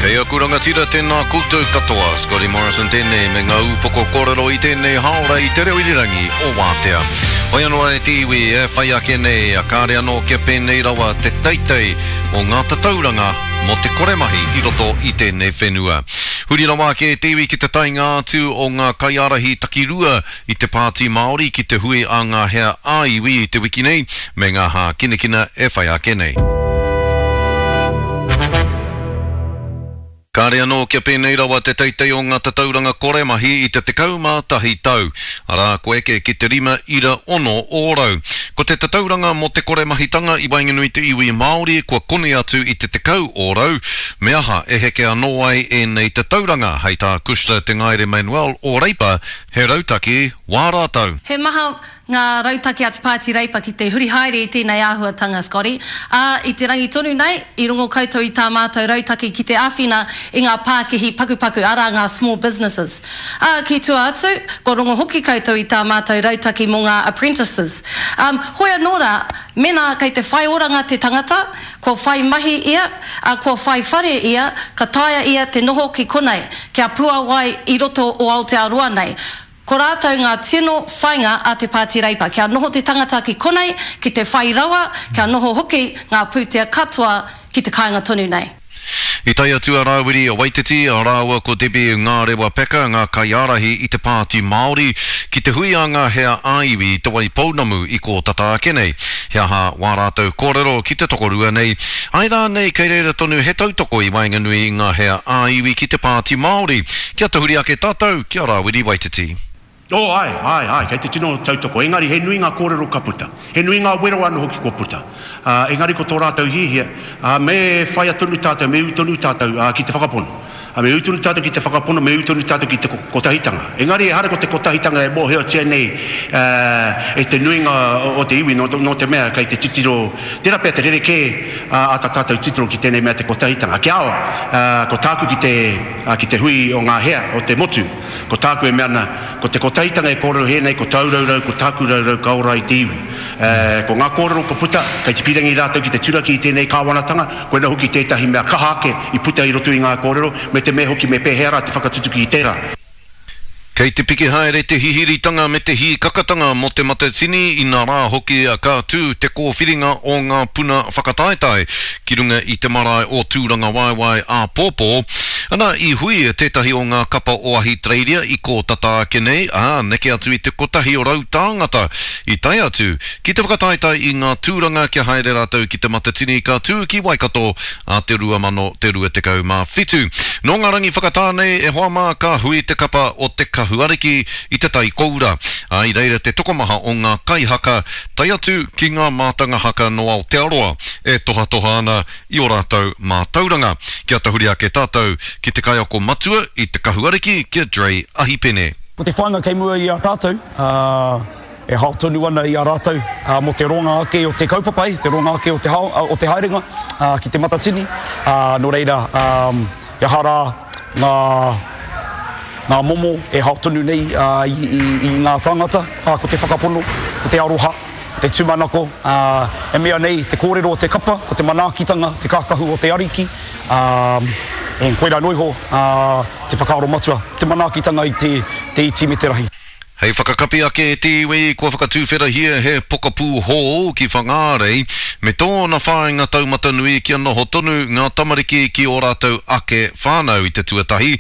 Kei aku rangatira tēnā koutou katoa, Scotty Morrison tēnei me ngā ūpoko kōrero i tēnei hāora i te reo irirangi o Wātea. Hoi anō e te iwi e whai ake nei, kāre anō kia pēnei rawa te teitei o ngā tatauranga mō te kore mahi i roto i tēnei whenua. Huri rawa ake e te iwi ki te taenga atu o ngā kaiārahi takirua i te Pāti Māori ki te hui a ngā hea ā-iwi i te wiki nei, me ngā hākinakina e whai ake nei. Kāre anō kia pēnei rawa te teitei o ngā tatauranga kore mahi i te 11 tau, arā, kua eke ki te 5.6 ōrau. Ko te tatauranga mō te kore mahitanga i waenganui te iwi Māori kua koni atu i te 10 ōrau, me aha e heke anō ai ēnei tatauranga, hei tā Cushla Te Ngaere Manuel o Reipa, He rautaki wā rātou. He maha ngā rautaki a te Pāti Reipa ki te huri haere i tēnei āhuatanga, Scotty, ā, i te rangi tonu nei, i rongo koutou i tā mātou rautaki ki te āwhina i ngā pākihi pakupaku, arā, ngā small businesses. Ā, ki tua atu, kua rongo hoki koutou i tā mātou rautaki mō ngā apprentices. Ā, hoi anō rā, mēnā kei te whai oranga te tangata, Kua whai mahi ia, ā, kua whai whare ia, ka taea ia te noho ki konei, kia puawai i roto o Aotearoa nei. Ko rātou ngā tino whainga a te Pāti Reipa, kia noho te tangata ki konei, ki te whai rawa, kia noho hoki ngā pūtea katoa ki te kāinga tonu nei. I tae atu a Rāwiri Waititi rāua ko Debbie Ngārewa Peka, ngā kaiārahi i te Pāti Māori, ki te hui a ngā hea ā-iwi i Te Waipounamu i kō tata ake nei. He aha wā rātou kōrero ki te tokorua nei? Āe rānei kei reira tonu he tautoko i waenganui i ngā hea ā-iwi ki te Pāti Māori? Kia tahuri ake tātou ki a Rāwiri Waititi. Oh, āe, āe, āe, kei te tino tautoko. Engari, he nui ngā kōrero ka puta. He nui ngā wero anō hoki kua puta. Ā, engari ko tō rātou hiahia, ā, me whaia tonu tātou, me ū tonu tātou, ā, ki te whakapono. Ā, me ū tonu tātou ki te whakapono, me ū tonu tātou ki te kotahitanga. Engari, ehara ko te kotahitanga e mōhiotia nei, ā, e te nuinga o te iwi, nō, nō te mea kei te titiro, tērā pea te rerekē, ā, a tā tātou titiro ki tēnei mea te kotahitanga. Kia ao, ā, ko tāku ki te, ā, ki te hui o ngā hea o te motu, Ko tāku e mea ana, ko te kotahitanga e kōrero hē nei, ko tāu raurau, ko tāku raurau ka ora ai te iwi. E, ko ngā kōrero kua puta, kei te pīrangi rātou ki te turaki i tēnei kāwanatanga, koina hoki tētahi mea kaha ake i puta i roto i ngā kōrero, me te mea hoki me pēhea rā te whakatutuki i tērā. Kei te piki haere te hihiritanga me te hīkakatanga mō Te Matatini, inā rā hoki ka tū te kōwhiringa o ngā puna whakataetae ki runga i te marae o Tūrangawaewae āpōpō. Ana, i hui tētahi o ngā kapa o Ahitereiria i kō tata ake nei, ā, neke atu i te 100 tāngata i tae atu ki te whakataetae i ngā tūranga kia haere rātou ki Te Matatini ka tū ki Waikato ā te 2027. Nō ngā rangi whakatā nei, e hoa mā, ka hui te kapa o Te Kahu Ariki i Te Tai Koura, ā, i reira te tokomaha o ngā kaihaka, tae atu ki ngā mātanga haka nō Aotearoa e tohatoha ana i ō rātou mātauranga. Kia tahuri ake tātou ki te kaiako matua i Te Kahu Ariki, ki a Dre Ahipene. Ko te whāinga kei mua i a tātou, e hao tonu ana i a rātou mō te roanga ake o te kaupapa, te roanga ake o te hao, o te haerenga ki Te Matatini. Nō reira, he aha rā ngā, ngā momo e hao tonu nei i ngā tāngata, ko te whakapono, ko te aroha. Te tūmanako, ā, e mea nei te kōrero o te kapa, ko te manaakitanga, te kākahu o te Ariki, ā, e, koirā noa iho, ā, te whakaaro matua, te manaakitanga i te, te iti me te rahi. Hei whakakapi ake e te iwi, kua whakatuwherahia he pokapū hou ki Whangārei, me tōna whāinga taumata nui kia noho tonu ngā tamariki ki ō rātou ake whānau i te tuatahi,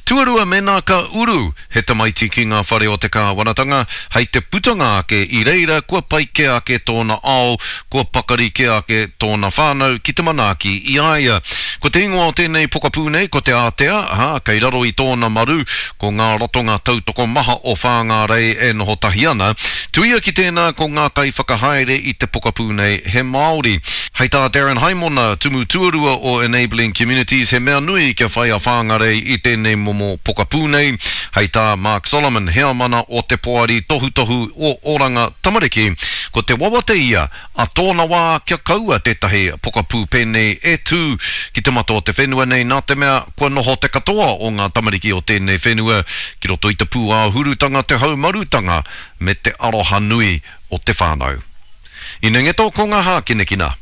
tuarua mēnā ka uru He tamaiti ki ngā whare o te kāwanatanga, hei te putanga ake i reira kua pai kē ake tōna ao, kua pakari kē ake tōna whānau ki te manaaki i a ia. Ko te ingoa o tēnei pokapū nei ko Te Ātea, ā, kei raro i tōna maru ko ngā ratonga tautoko maha o Whāngārei e noho tahi ana. Tuia ki tēnā ko ngā kaiwhakahaere i te pokapū nei he Māori. Hei tā Darren Haimona, Tumu Tuarua o Enabling Communities, he mea nui kia whai a Whāngarei i tēnei momo pokapū nei. Hei tā Mark Solomon, heamana o Te Poari Tohutohu o Oranga Tamariki, ko te wawata ia a tōna wā kia kaua tētahi pokapū pēnei e tū ki te mata o te whenua nei nā te mea kua noho te katoa o ngā tamariki o tēnei whenua ki roto i te pūāhurutanga, te haumarutanga me te aroha nui o te whānau. Inengeto ko ngā hākinakina.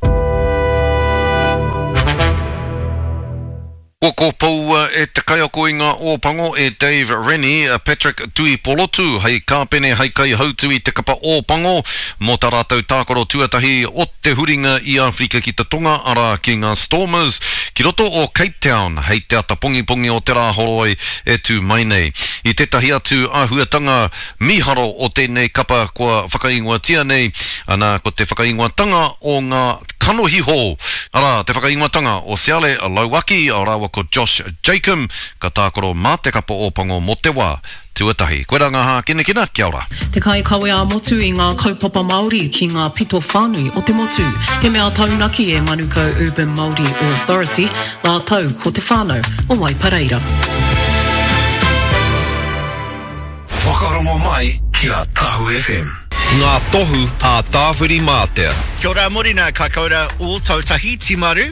Kua kōpoua e te kaiako i ngā Ōpango e Dave Rennie a Patrick Tuipolotu hei kāpene hei kaihautu i te kapa Ōpango mō tā rātou tākaro tuatahi o te huringa i Āwherika ki te Tonga arā ki ngā Stormers ki roto o Cape Town hei te ata pongipongi o te Rāhoroi e tū mai nei. I tētahi atu āhuatanga mīharo o tēnei kapa kua whakaingoatia nei, ana ko te whakaingoatanga o ngā Kanohi hou, arā, te whakaingoatanga o Siale Lauaki rāua ko Josh Jacomb, ka tākaro mā te kapa Ōpango mō te wā tuatahi. Koirā ngā hākinakina, kia ora. Te kaikawe ā-motu i ngā kaupapa Māori ki ngā pito whānui o te motu. He mea taunaki e Manukau Urban Māori Authority rātou ko te whānau o Waipareira. Whakarongo mai ki a Tahu FM. Ngā tohu a Tāwhirimātea. Kia ora Morena, ka koura Ōtautahi, Timaru.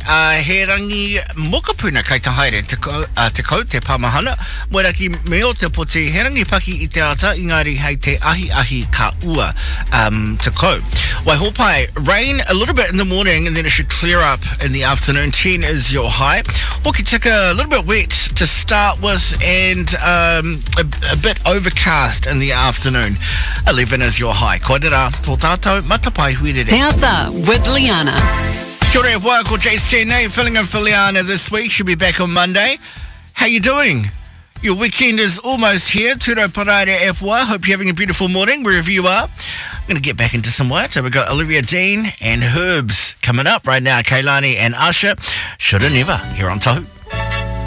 Uh, he rangi mokopuna kai te haere, te, uh, te kau, te pamahana, Moeraki me o te poti, he rangi paki i te ata, engari hei te ahi ahi ka ua um, te kau. Waihopai, rain a little bit in the morning and then it should clear up in the afternoon. 10 is your high. Hokitika, a little bit wet to start with and um, a, a bit overcast in the afternoon. 11 is your high. Koirā, tō tātou matapae huirere. Te Ata with Liana. Kia ora e hoa, ko Jace tēnei, filling in for Liana this week. She'll be back on Monday. How you doing? Your weekend is almost here. Turo Paraire e hoa. Hope you're having a beautiful morning wherever you are. I'm going to get back into some work. So we've got Olivia Dean and Herbs coming up right now. Kailani and Usher. Shoulda Never here on Tahu.